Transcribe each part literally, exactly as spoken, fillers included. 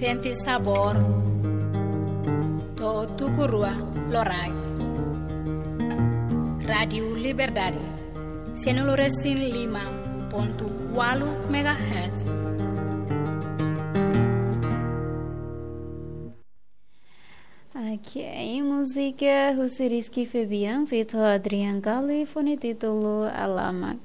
Sente sabór. To'o tuku rua loraik. Rádiu Liberdade. Sanulu resin lima pontu ualu megahertz. Ok, múzika husi Rizky Febian, feat Adrian Galli, fó nia títulu Alamak.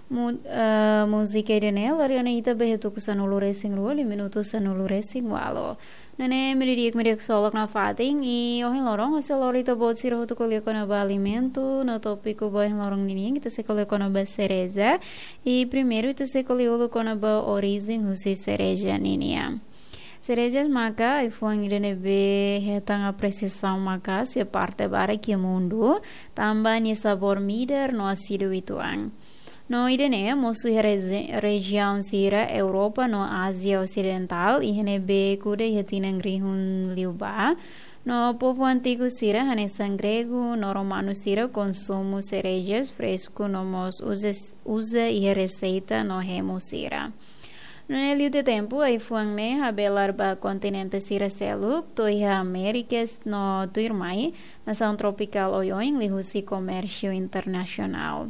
Mu-, eh, múzika ida-ne'e lori ona ita ba iha tuku sanulu resin rua, liu minutu sanulu resin ualu. Nune'e meiudia di'ak, meiudia ksolok nafatin, i ohin loron, ha'u sei lori ita-boot sira hotu ko'alia kona-ba alimentu, no tópiku ba ohin loron ninian, ita sei ko'alia kona-ba sereja, i primeiru ita sei ko'alia uluk kona-ba orijen husi sereja ninian. Sereja maka ai-fuan ida ne'ebé hetan apresiasaun maka'as iha parte barak iha mundu, tanba nia sabór midar no asidu uitoan. No ida-ne'e mosu iha reji-, rejiaun sira Europa no Ázia Osidentál, iha ne'ebé kuda iha tinan rihun liubá. No povu antigu sira hanesan gregu no romanu sira konsumu serejas fresku no mós uza, uza iha reseita no hemu sira. Nune'e liu tiha tempu, ai-fuan ne'e habelar ba kontinente sira seluk, to'o iha Amérika no tuirmai, nasaun tropikál oioin liuhusi komérsiu internasionál.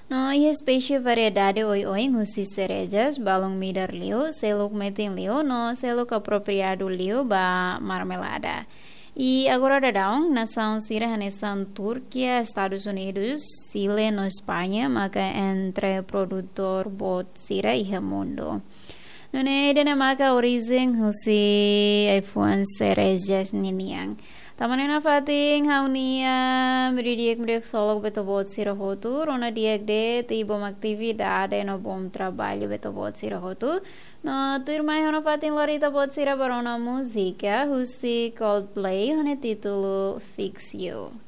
No iha espésie variedade oioin husi serejas, balun midar liu, seluk metin liu, no seluk apropriadu liu ba marmelada. I agora daudaun, nasaun sira hanesan Turkia, Estadus Unidus, Xile no España, maka entre produtór boot sira iha mundu. Nune'e ida-ne'e maka orijen husi ai-fuan serejas ninian. Tanba ne'e nafatin ha'u-nia meiudia di'ak, meiudia ksolok ba ita-boot sira hotu, rona di'ak de'it, i bom atividade no bom traballu ba ita-boot sira hotu. No tuirmai ha'u nafatin lori ita-boot sira ba rona múzika husi Coldplay, ho nia títulu Fix You.